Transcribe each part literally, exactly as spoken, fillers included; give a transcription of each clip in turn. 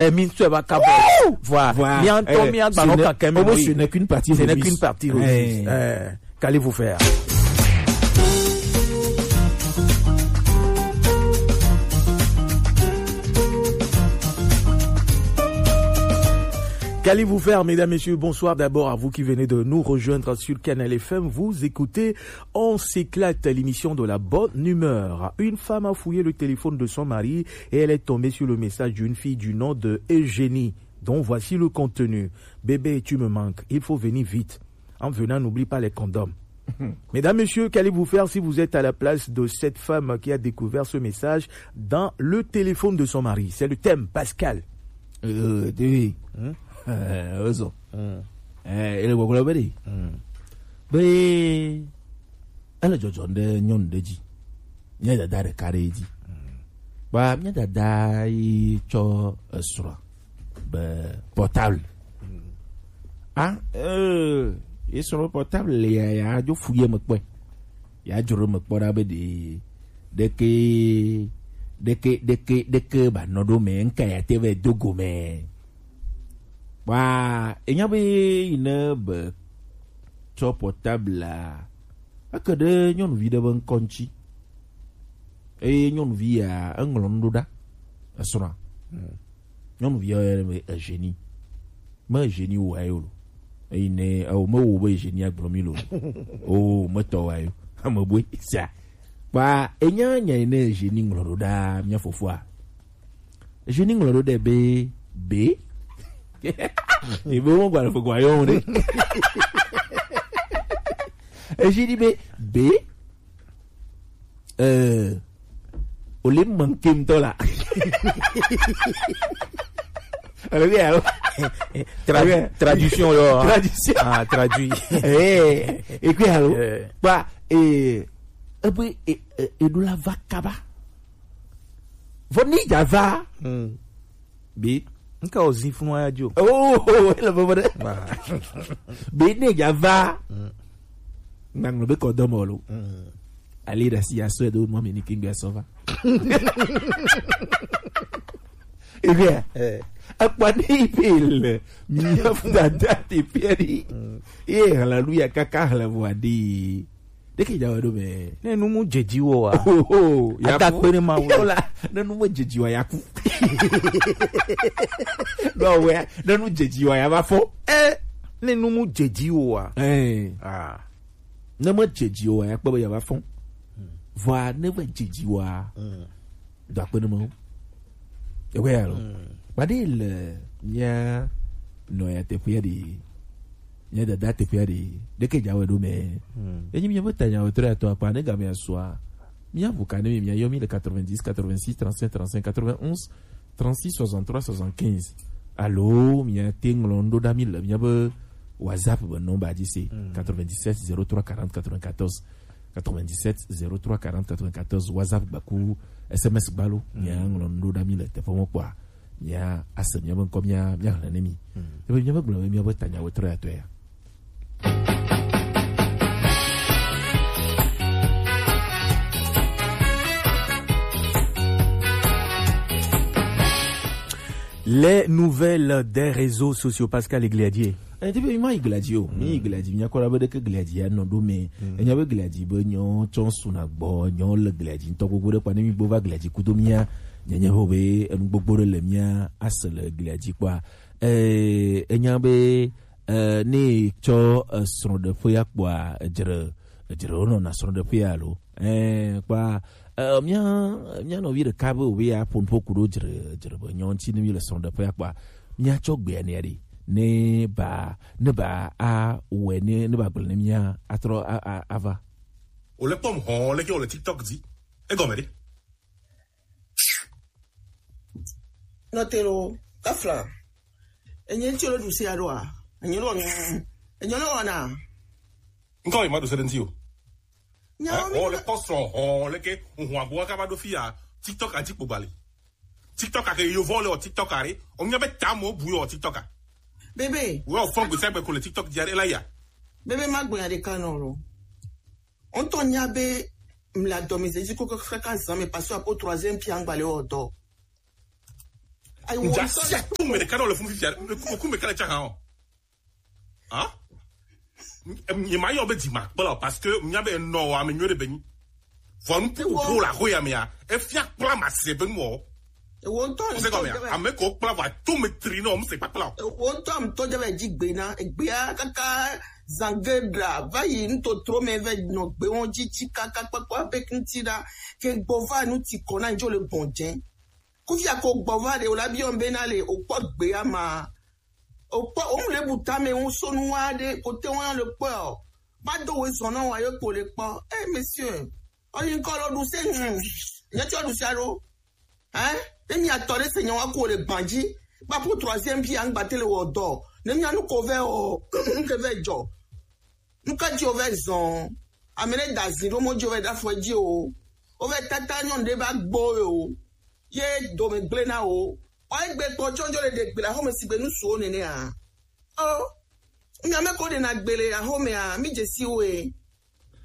Eh, mi ŋutɔe va ka bɔ. Voilà. Voilà. Mi ŋutɔ, eh, mi agba ce nɔ n'est, kakɛ mi oh, oui, ce n'est qu'une partie ce n'est remise. Qu'une partie remise. Eh. Eh, qu'allez-vous faire? Qu'allez-vous faire, mesdames, messieurs? Bonsoir d'abord à vous qui venez de nous rejoindre sur Canal F M. Vous écoutez On s'éclate, l'émission de la bonne humeur. Une femme a fouillé le téléphone de son mari et elle est tombée sur le message d'une fille du nom de Eugénie, dont voici le contenu. « Bébé, tu me manques. Il faut venir vite. En venant, n'oublie pas les condoms. » Mesdames, messieurs, qu'allez-vous faire si vous êtes à la place de cette femme qui a découvert ce message dans le téléphone de son mari? C'est le thème, Pascal. Euh, oui. Hmm? Euh, ozo. Hmm. Eh, ele gbɔgblɔ be ɖe. Hmm. Be ele dzɔdzɔm ɖe nyɔnu ɖe dzi. Nye dada ɖeka ɖe dzi. Hmm. Ba mía dada yi tsɔ esrɔ̃a be portable. Ah, euh, esrɔ̃ be portable ya, ya dzo fu ye me kpɔe. Ya dzro me kpɔ ɖa be ɖe, ɖeke, ɖeke, ɖeke, ɖeke ba nɔ ɖo me, ŋka ya te vɛ do go me. Wa, enya be yi ne be tsɔ portable la, eke ɖe nyɔnuvi ɖe be ŋkɔ ŋuti. Eye nyɔnuvi ya, eŋlɔ nu ɖo ɖa. Esrɔ̃a. Hmm. Nyɔnuvi ya yɔnɛ be Eugénie. Me Eugénie wo ayo lo. Eyi ne, awo me wo be Eugénie agblɔ mi lo. O, me tɔ wa yo. Ame boe sia. Kpa, enya nya yi ne Eugénie ŋlɔ ɖo ɖa mía fofoa. Eugénie ŋlɔ ɖo ɖe be, be. Ebe wo gba le fo gba yɔ ɖe. Eugénie be, be. Euh, au lieu de manquer ŋutɔ la. Alors, oui, alors. Tradu-, oui. Traduction, là. Traduction. Ah, traduit. Eh, et puis, alors, eh. Bah, eh, eh, oui, eh, eh, et de la vaca, bah. Vɔ ni dza va. Hmm. Be. Ŋka o zi funu aya dzo. Oh, oh, ele bebe ɖe. Ba. Be ne dza va. Hmm. Ŋgba ŋlɔ be kɔ dɔ mɔ lo. Hmm. Ali ɖe asi asɔe do mɔ mi ni kingbe asɔ va. Ebia. Eh. Akpa ni pe le. Mi ya fu dada te pe ni. Hmm. E haleluya kaka hale vɔ adi. Ɖeke dza wɔ ɖo mɛ. Ne nu mu dze dzi wo wa. Oho, ya ata fu. Kpe ne ma wo. Yo la, ne nu mu dze dzi wa ya ku. No we, ne nu dze dzi wa ya va fɔ. Eh, ne nu mu dze dzi wo wa. Eh. Ah. Ne me dze dzi wo wa ya kpɔ be ya va fɔ. Vɔa ne va dze dzi wa. Hmm. Do akpe ne Mawu. Ewe ya lo. Mm. Kpaɖe le mía nɔya teƒea ɖe, mía dada teƒea ɖe, ɖeke dza wɔe ɖo mɛ. Mm. Enyi mía be tanya wetɔ ya tɔ akpa ne game asua. Mía ʋu ka ne mi mía yɔ mi le quatre-vingt-dix, quatre-vingt-six, trente-cinq, trente-cinq, quatre-vingt-onze, trente-six, soixante-trois, soixante-quinze. Alo mía te ŋlɔ nu ɖo ɖa mi le mía be WhatsApp be nɔmba dzi se, mm, quatre-vingt-dix-sept zéro trois quarante quatre-vingt-quatorze. Quatre-vingt-dix-sept zéro trois quarante quatre-vingt-quatorze, WhatsApp gbaku, S M S gbalo, mm, mía ŋlɔ nu ɖo ɖa mi le teƒe mɔ kpɔa, mía ase mía be ŋkɔ mía, mía hlẽ ne mi. Mm. Ebe mía be gblɔ be mía be tanya wetɔ ya tɔ ya. Les nouvelles des réseaux sociaux, Pascal Egliadier. Eh, ti be mi ma yi gla dzi o. Mi yi gla dzi, mi nya kɔ la be ɖeke gla dzi ya nɔ ɖo mɛ. Mm. Enya be gla dzi be nyɔ tsɔ suna gbɔ, nyɔ le gla dzi ŋutɔ gbogbo ɖe kpa ne mi gbo va gla dzi kudo mía. Nyenye ho be enu gbogbo ɖe le mía ase le gla dzi kpɔa. Eh, enya be, eh, ne tsɔ, eh, srɔ̃ɖeƒea kpɔa, edzre, edzre wo nɔna srɔ̃ɖeƒea lo. Eh, kpa, eh, mía, mía nɔvi ɖeka be wòbe ya ƒo nuƒo ku ɖo dzre, dzre be nyɔ ŋuti ne mi le srɔ̃ɖeƒea kpɔa, mía tsɔ gbea nea ɖi. Ne ba, ne ba a wɔe ne, ne ba gblɔ ne mía atrɔ a, a, ava. Wòle kpɔm hɔn leke wòle TikTok dzi. Egɔme ɖe? Nɔte lo, kafla. Enye ŋuti lo ɖu sia ɖoa? Enye lo, enye lo wɔna. Ŋkɔ yi ma ɖu se ɖe ŋuti o. Nya wo mi wòle kpɔ srɔ̃ hɔn leke ŋu agbo kaba ɖo fi ya TikTok a dzi kpo gbali. TikTok a ke yovo le o TikTok a re. O nya be tamo bu yo TikTok a. Bebe. Wo fɔn gbese gbe ko le TikTok dzi are la ya. Bebe ma gbe ya ɖeka nɔ lo. On to nya be mla dɔmizedzi koko kaka zan me parce que apo troisième pied angba le o dɔ. Ayi, wo ŋdza sia to me ɖeka ɖe le fun fifia, me ku, me ku me ka le tsa hã o. Hein? Nye ma yɔ be dzi ma kpla o, parce que nya be nɔ wa me nyuie ɖe be nyi. Vɔ nu ku ko la ho ya me ya. Efia kpla ma se be nu o. Ewo ŋutɔ. Ŋse gɔme ya. Ame ko kpla va to me tri no, ŋse kpakpla o. Ewo ŋutɔ ŋutɔ dze be dzi gbe na, egbea kaka zange ɖa, va yi ŋutotro me ve nɔ gbe wo dzi tsi kaka kpakpa be ŋuti ɖa, ke gbɔ va nu ti kɔ na ŋdzo le gbɔn dze. Kufia ko gbɔ va ɖe, wo la biɔ be na le, o kpɔ gbe ya ma. O kpɔ, o mu le bu tame ŋu so nu wa ɖe, ko te wa le kpɔ o. Ba do we zɔn na wa yo ko le kpɔ. Eh, monsieur. O yin ko lo du se, mm. Nye tso du se alo. Hein? Ne mi atɔ ɖe se nyawa ko le gban dzi. Ba pour troisième pierre angba te le wɔ dɔ. Ne mi anu ko vɛ o, nke vɛ jɔ. Nuka dzi wovɛ zɔn? Ame ɖe da zi ɖo mɔ dzi wovɛ ɖa fɔ dzi o. Wovɛ tata nyɔnu ɖe va gbɔ o. Ye dome gblẽ na o. Wa egbe kpɔ tsɔ dzo le ɖe gbe le axɔme sigbe nu suwo nenea. O. Mi ame ko ɖe na gbe le axɔmea, mi dze si wo e.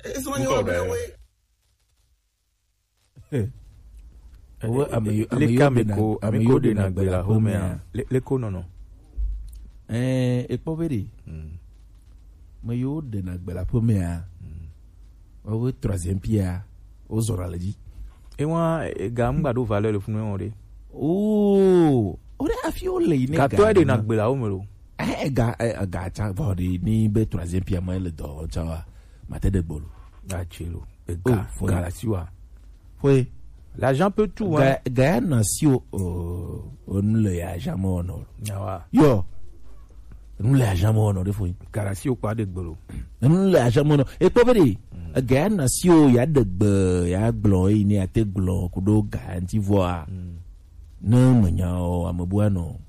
Esɔ nye wo gblẽ wo e. Wo ame yo, ame yo ɖena, ame yo ɖena gbe le axɔmea. Le, le ko nɔnɔ. Eh, ekpɔ be ɖe. Hmm. Me yo ɖena gbe le axɔmea. Hmm. Wo troisième pierre, wo zɔra le dzi. E wa, e ga ŋgba ɖo valeur le funu wɔn ɖe. Oh, o ɖe afi wo le yi ne ga. Gatɔ ɖena gbe le axɔme lo. Eh, ega, eh, ega tsa vɔ ɖe ni be troisième pierre me le dɔ tsa wa. Mate ɖe gbolo. Gatsi lo. Ega, oh, foi. Galasi wa. Foi. L'argent peut tout, hein. Ga, ga ya na si o, o, o nu le ya jamais ono. Awa. Yo. Nu le ya jamais ono de foi. Galasi o kpa de gbolo. Nu le ya jamais ono. E kpɔ be de. Mm. Ga ya na si o ya de gbe, ya gblɔ, yi ni ya te gblɔ, kudo ga nti voa. Mm. Ne me nya o, ame bua no.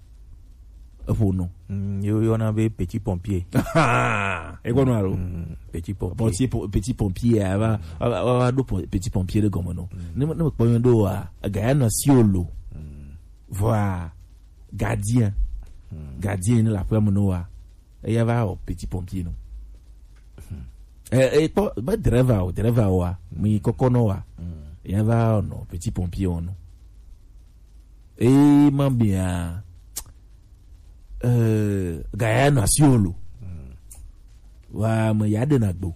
Eƒo no. Mm, yo, yo na be petit pompier. E gbɔ no alo? Mm, petit pompier. Petit po-, petit pompier, a va, a va, a va, a va ɖo po-, petit pompier ɖe gɔme no. Mm. Ne, ne me kpɔ yɔn ɖo wa, ega ya nɔ si o lo. Mm. Vɔa, gardien. Mm. Gardien ne le aƒea me no wa. Eya va wɔ petit pompier no. Mm. E, e kpɔ, be driver o, driver wa, mi kɔkɔ no wa. Mm. Eya va nɔ petit pompier o no. Eye ma bia, eh, gaya no asi o lo. Mm. Wa me ya de na gbo.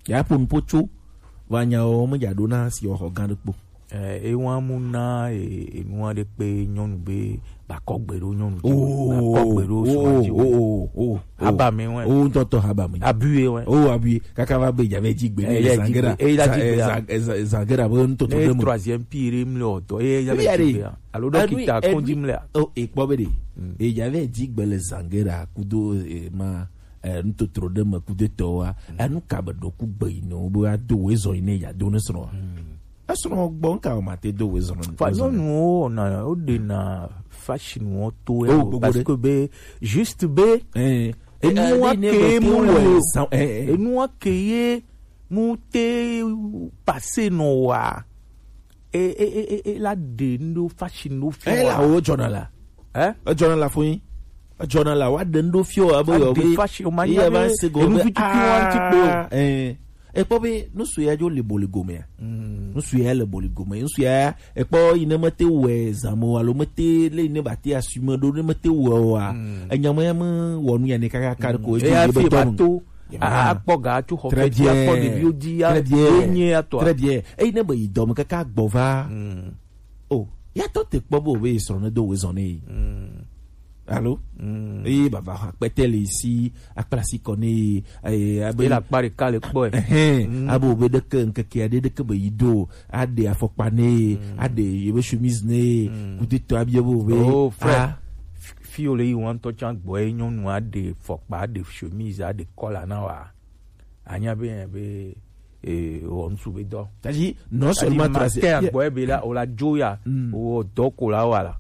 Ya pun pocho. Wa nya o me ya do na si o ho gan de kpo. Eh, e wa mu na e, e nu aɖe kpe nyɔnu be ba kɔ gbe ɖo nyɔnu dzi. Oh, ba kɔ gbe ɖo srɔ̃a dzi. Oh, oh, oh, oh, oh. Haba me wɛ. Oh, ŋutɔ tɔ haba me. Abui wɛ. Oh, abui. Kaka va be dza vɛ dzi gbe. Eh, ne ya dzi gbe. Eh, ya dzi gbe. Zangera be ŋutɔ tɔ ɖe me. Troisième pire mle o tɔ. Eh, ya vɛ dzi gbe. Alo dɔkita kɔndzi mle. Oh, e kpɔ be de. Mm. E dza vɛ dzi gbe le zangera kudo, eh, ma, eh, ŋutotro ɖe me kudo tɔ wa. Mm. Enu ka be ɖo ku gbe yi ne wo be ado wo ezɔ yi ne ya do ne srɔ̃a. Mm. Esrɔ̃ gbɔ nka o ma te do wo ezɔ ne. Fa nyɔnuwo na o de na fashion wo to. Oh, gbogbo parce que be juste be. Eh. Enua ke mu le o. Enua ke ye mu te pase nɔ wa. E, e, e, e, e la ɖe ŋɖo fashion ɖo fio. E la wo dzɔna la. Eh? Edzɔna la fo yin. Edzɔna la wa ɖe ŋɖo fio abe yɔ be. Fashion o ma nya be se go be. Enu tutu wa ŋti kpe o. Eh. Ekpɔ be nusu ya dzo le boli gomea. Mm. Nusu ya le boli gome. Nusu ya ekpɔ yi ne mete wɛ zamo alo mete le yi ne ba te assume ɖo ne mete wɛ o a. Mm. Enya me ya me wɔ nu ya ne kaka ka ko. Mm. Eya fi ba to. Akpɔ ga tso xɔ feti, akpɔ ɖeviwo dzi, ya enye ya tɔa. Très bien. Eyi ne be yi dɔme kaka gbɔ va. Mm. O, ya tɔ te kpɔ be o be srɔ̃ ne do we zɔn ne yi. Mm. Alo? Mm. Eye baba ha kpɛtɛ le si, akpla si kɔ ne yi, eye abe. Ela kpa ɖeka le kpɔ ɛ. Ɛhɛn, mm. Abe o be ɖeke ŋkeke aɖe ɖeke be yi do, aɖe afɔkpa ne yi, mm, aɖe yebe chemise ne yi, mm, kudetɔ abia be o be. Oh, frère. Ah. Fi, fi o le yi wan tɔ tsan gbɔ ye nyɔnu aɖe fɔkpa, aɖe chemise, aɖe kɔla na wa. Anya be, be, eh, wɔ ŋsu be dɔ. C'est-à-dire, non seulement ma te agbɔ be la, o la dzo ya, mm, o dɔ ko la wa la.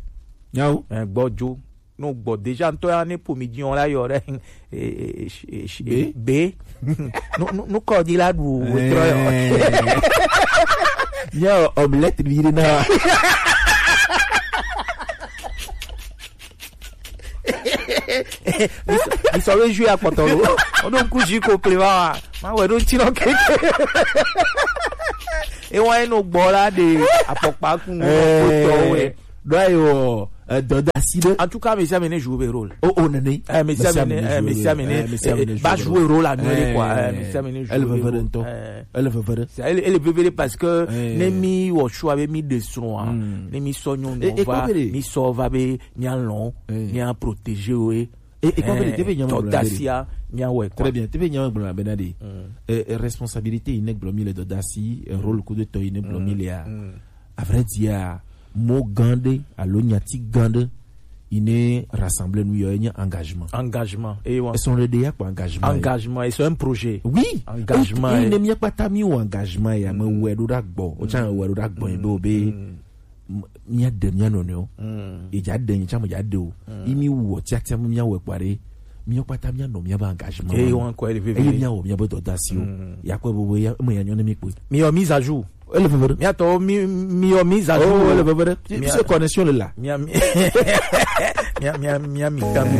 Nyawo. Eh, gbɔ dzo. No gbɔ déjà ŋtɔ ya ne ƒomi dzi o la yɔ ɖe, eh, eh, eh, eh, be. Be. No, no, no kɔ di la ɖu o trɔ yɔ. Eh. Nye omelette vi ɖe na. Misɔbe ju akpɔtɔ lo. Woɖo ŋku ju ko ple va wa. Ma wɛ ɖo ŋti nɔ keke. Ewa eno gbɔ la ɖe afɔkpa ku ŋu ko tɔ wɛ. ɖo ayi wɔ edɔdasi ɖe. En tout cas, mesi ame ne joue be rôle. Oh, oh, nene. Eh, mesi ame ne, eh, mesi ame ne, eh, mesi ame ne eh, ba joue rôle à nous, quoi. Eh, mesi ame ne joue be rôle. Eh, elle veut faire. C'est, elle, elle veut faire parce que ne mi wɔ choix be mi de son, hein. Ne mi sɔ nyɔnu va, mi sɔ va be mi alɔn, mi a protéger, oui. Et, et quand eh, te be nyama gblɔ na be ɖe. Dɔdasia, mi a wɛ, quoi. Très bien, te be nyama gblɔ na be na ɖe. Eh, eh, responsabilité yi ne gblɔ mi le dɔdasi, eh, rôle kudo tɔ yi ne gblɔ mi le a. À vrai dire, mo gã ɖe alo nyati gã ɖe yi ne rassemble nu yɔ enye engagement. Engagement. Et ouais. Ese ɖe ya kpɔ engagement. Engagement, et c'est un projet. Oui. Engagement. Et, et ne mi kpata mi wɔ engagement ya me wɛ ɖo ɖa gbɔ. O tsa wɛ ɖo ɖa gbɔ yi be o be mía ɖe mía nɔnɔewo. Edza ɖe nyi tsã me dza ɖe o. Yi mi wɔ tiatia mu mía wɔ kpa ɖe. Mía kpata mía nɔ mía be engagement. Eye wan kɔ ele veve. Eye mía wɔ mía be dɔdasiwo. Ya kpɔ bobo ya me ya nyɔ ne mi kpe. Mi yɔ mise à jour. Ele veve ɖe. Mía tɔ mi mi yɔ mise à jour. Oh, ele veve ɖe. Puisque connexion le là. Mía mi mía mía mía mi ta mi.